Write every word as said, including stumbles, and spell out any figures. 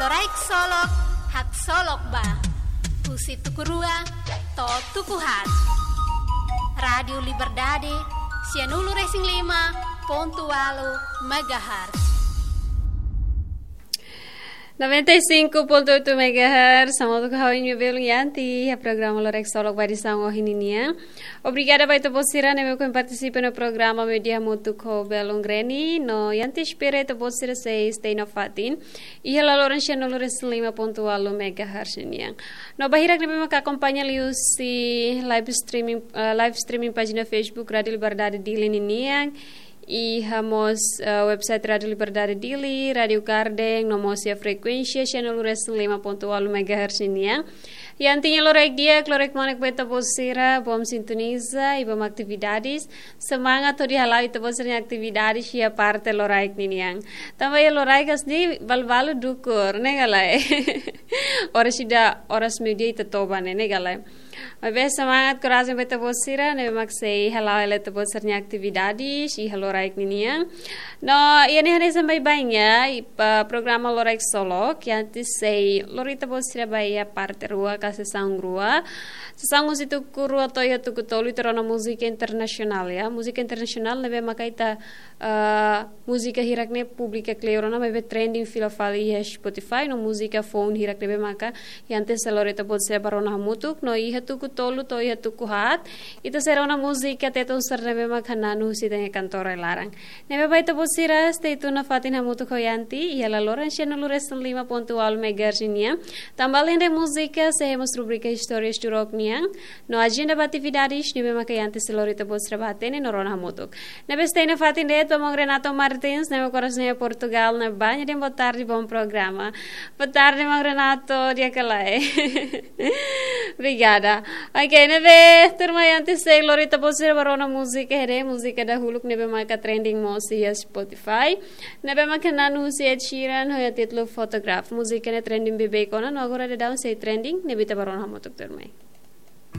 Loraik Solok, haksolok ba. Husi tuku rua to'o tuku haat. Rádiu Liberdade, sianulu-resin-lima pontu ualu megahertz. Noventa e cinco ponto oito megahertz, hamutuk ho ha'u-nia belun Yanti, iha programa Loraik Solok ba edisaun ohin nian. Obrigada ba ita-boot sira ne'ebé ohin partisipa iha programa, meiudia hamutuk ho belun Reni, no Yanti espera ita-boot sira sei stay iha fatin. Iha laloran sianulu-resin-lima pontu ualu megahertz nian. No ba hirak ne'ebé maka akompaña liuhusi live streaming, eh, live streaming pájina Facebook Rádiu Liberdade Dili ninian, iha mós, eh, website Rádiu Liberdade Dili, Rádiu Garden, no mós iha frekuénsia sianulu-resin-lima pontu ualu megahertz nian. Yanti nia loraik di'ak, loraik manek ba ita-boot sira, bom sintoniza i bom atividades. Semangat hodi hala'o ita-boot sira-nia atividades iha parte loraik ninian. Tanba iha loraik hanesan ne'e balu-balu dukur, ne'e ka lae? Oras ida, oras meiudia ita toba ne'e, ne'e ka lae? Maibé semangat, korajen ba ita-boot sira ne'ebé mak sei hala'o hela ita-boot sira-nia atividades iha loraik ninian. No, iha ne'e hanesan baibain ya, iha programa Loraik Solok, Yanti sei lori ita-boot sira ba iha parte rua ka sesaun rua. Sesaun husi tuku rua to'o iha tuku tolu ita rona múzika internasionál ya. Múzika internasionál ne'ebé maka ita, eh, múzika hirak ne'e públiku kleur ona, maibé trending fila fali iha Spotify, no múzika foun hirak ne'ebé maka Yanti sei lori ita-boot sira ba rona hamutuk, no iha tuku tolu to'o iha tuku haat, ita sei rona múzika Tetun sira ne'ebé maka hananu husi ita-nia kantora iha laran. Ne'ebé ba ita-boot sira, stay tune iha fatin hamutuk ho Yanti, iha laloran sianulu-resin-lima pontu ualu megahertz nian. Tanba alende múzika, sei iha mós rubrika Istórias Turok nian, no ajenda ba atividades ne'ebé maka Yanti sei lori ita-boot sira ba hatene no rona hamutuk. Ne'ebé stay iha fatin de'it ba maun Renato Martins, ne'ebé korason iha Portugal, ne'ebé nia dehan boa tarde, bom programa. Boa tarde, maun Renato, di'ak ka lae? Obrigada. Ok, ne'ebé, turma, Yanti sei lori ita-boot sira ba rona múzika, hede, múzika dahuluk ne'ebé maka trending mós iha Spotify. Ne'ebé maka hananu husi Ed Sheeran, ho títulu Photograph. Múzika ne'e trending beibeik ona, no agora daudaun sei trending, ne'ebé ita ba rona hamutuk, turma.